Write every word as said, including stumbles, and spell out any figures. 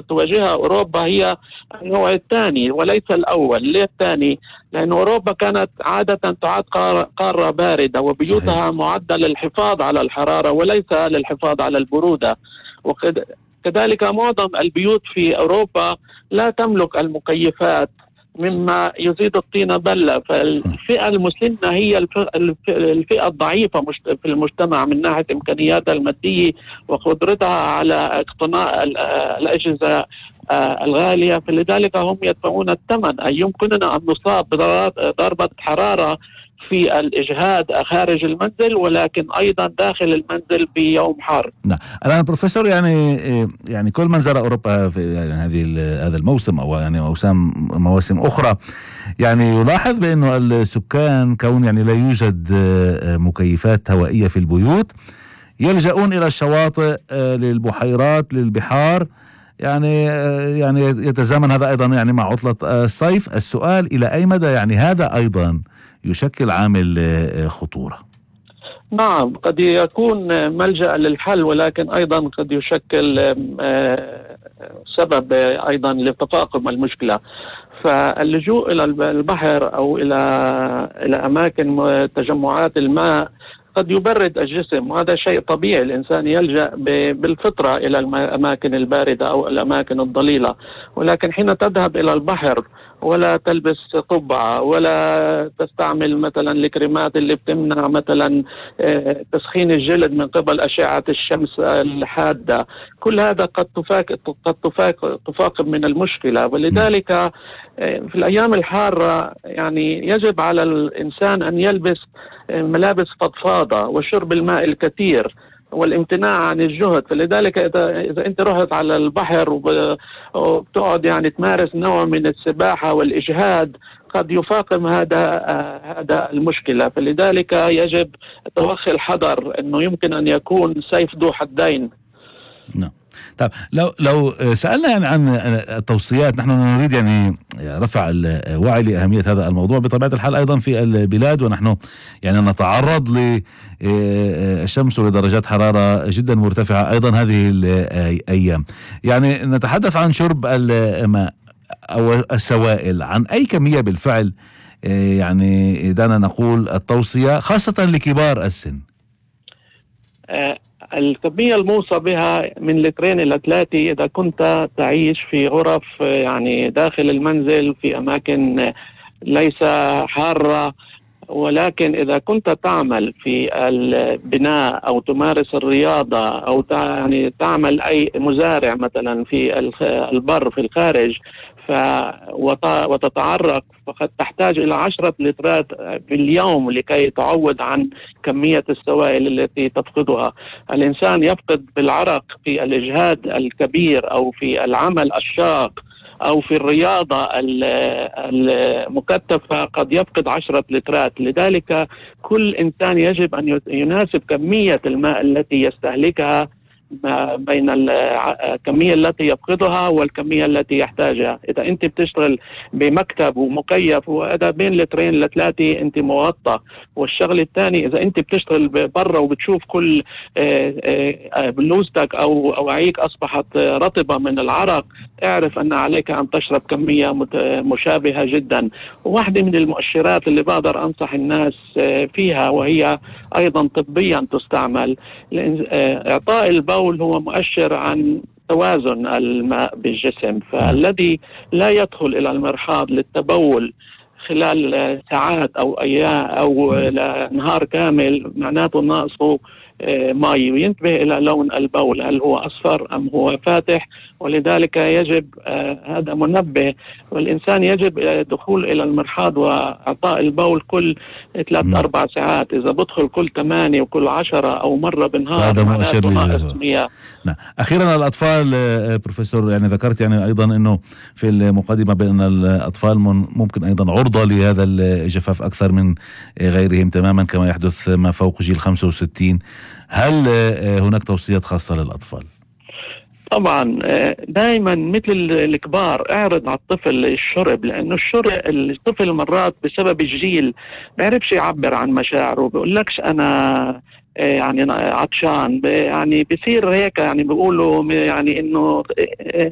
تواجهها أوروبا هي النوع الثاني وليس الأول. ليه الثاني؟ لأن أوروبا كانت عادة تعد قارة باردة وبيوتها صحيح. معدة للحفاظ على الحرارة وليس للحفاظ على البرودة، وكذلك معظم البيوت في أوروبا لا تملك المكيفات مما يزيد الطين بلة. فالفئة المسنة هي الفئة الضعيفة في المجتمع من ناحية إمكانياتها المادية وقدرتها على اقتناء الأجهزة الغالية، فلذلك هم يدفعون الثمن. أي يمكننا أن نصاب بضربة حرارة في الإجهاد خارج المنزل ولكن أيضا داخل المنزل بيوم حار. نعم. الآن بروفيسور يعني يعني كل من زار أوروبا في يعني هذه هذا الموسم أو يعني موسم مواسم أخرى يعني يلاحظ بأنه السكان كون يعني لا يوجد مكيفات هوائية في البيوت يلجؤون إلى الشواطئ، للبحيرات، للبحار. يعني يعني يتزامن هذا أيضا يعني مع عطلة الصيف. السؤال إلى أي مدى يعني هذا أيضا يشكل عامل خطورة؟ نعم، قد يكون ملجأ للحل ولكن أيضا قد يشكل سبب أيضا لتفاقم المشكلة. فاللجوء إلى البحر أو إلى إلى أماكن تجمعات الماء قد يبرد الجسم، وهذا شيء طبيعي. الإنسان يلجأ بالفطرة إلى الأماكن الباردة أو الأماكن الضليلة، ولكن حين تذهب إلى البحر ولا تلبس قبعة ولا تستعمل مثلا الكريمات اللي بتمنع مثلا تسخين الجلد من قبل أشعة الشمس الحادة، كل هذا قد تفاق قد تفاق تفاقم من المشكلة. ولذلك في الأيام الحارة يعني يجب على الإنسان أن يلبس ملابس فضفاضة وشرب الماء الكثير والامتناع عن الجهد. فلذلك إذا, إذا أنت رحت على البحر وبتقعد يعني تمارس نوع من السباحة والإجهاد قد يفاقم هذا هذا المشكلة. فلذلك يجب توخي الحذر أنه يمكن أن يكون سيف ذو حدين. نعم. طيب لو لو سألنا يعني عن التوصيات، نحن نريد يعني رفع الوعي لأهمية هذا الموضوع بطبيعة الحال أيضا في البلاد، ونحن يعني نتعرض للشمس ولدرجات حرارة جدا مرتفعة أيضا هذه الأيام. يعني نتحدث عن شرب الماء أو السوائل، عن أي كمية بالفعل يعني دعنا نقول التوصية خاصة لكبار السن؟ أه الكمية الموصى بها من لترين إلى ثلاثة إذا كنت تعيش في غرف يعني داخل المنزل في أماكن ليس حارة. ولكن إذا كنت تعمل في البناء أو تمارس الرياضة أو يعني تعمل أي مزارع مثلا في البر في الخارج ف وتتعرق، فقد تحتاج إلى عشرة لترات باليوم لكي تعوض عن كمية السوائل التي تفقدها. الإنسان يفقد بالعرق في الإجهاد الكبير أو في العمل الشاق أو في الرياضة المكثفة قد يفقد عشرة لترات. لذلك كل إنسان يجب أن يناسب كمية الماء التي يستهلكها بين الكمية التي يفقدها والكمية التي يحتاجها. إذا أنت بتشتغل بمكتب ومكيف وهذا بين لترين لثلاثة أنت مغطى. والشغل الثاني إذا أنت بتشتغل برا وبتشوف كل بلوزتك أو أوعيك أصبحت رطبة من العرق، اعرف أن عليك أن تشرب كمية مشابهة جدا. وواحدة من المؤشرات اللي بقدر أنصح الناس فيها وهي أيضا طبيا تستعمل، إعطاء البول هو مؤشر عن توازن الماء بالجسم. فالذي لا يدخل إلى المرحاض للتبول خلال ساعات أو أيام أو نهار كامل معناته ناقصه ماء. وينتبه إلى لون البول، هل هو أصفر أم هو فاتح. ولذلك يجب آه هذا منبه، والإنسان يجب الدخول إلى المرحاض وإعطاء البول كل ثلاث أربع ساعات. إذا بدخل كل ثمانية وكل عشرة أو مرة بالنهار معناته ناقص مياه. نعم. أخيرا الأطفال بروفيسور، يعني ذكرت يعني أيضا أنه في المقدمة بأن الأطفال ممكن أيضا عرضة لهذا الجفاف أكثر من غيرهم تماما كما يحدث ما فوق جيل خمسة وستين. هل هناك توصيات خاصة للأطفال؟ طبعا دائما مثل الكبار اعرض على الطفل الشرب، لانه الشرب الطفل مرات بسبب الجيل بيعرفش يعبر عن مشاعره، بيقول لكش انا يعني عطشان، يعني بيصير هيك يعني بيقولوا يعني انه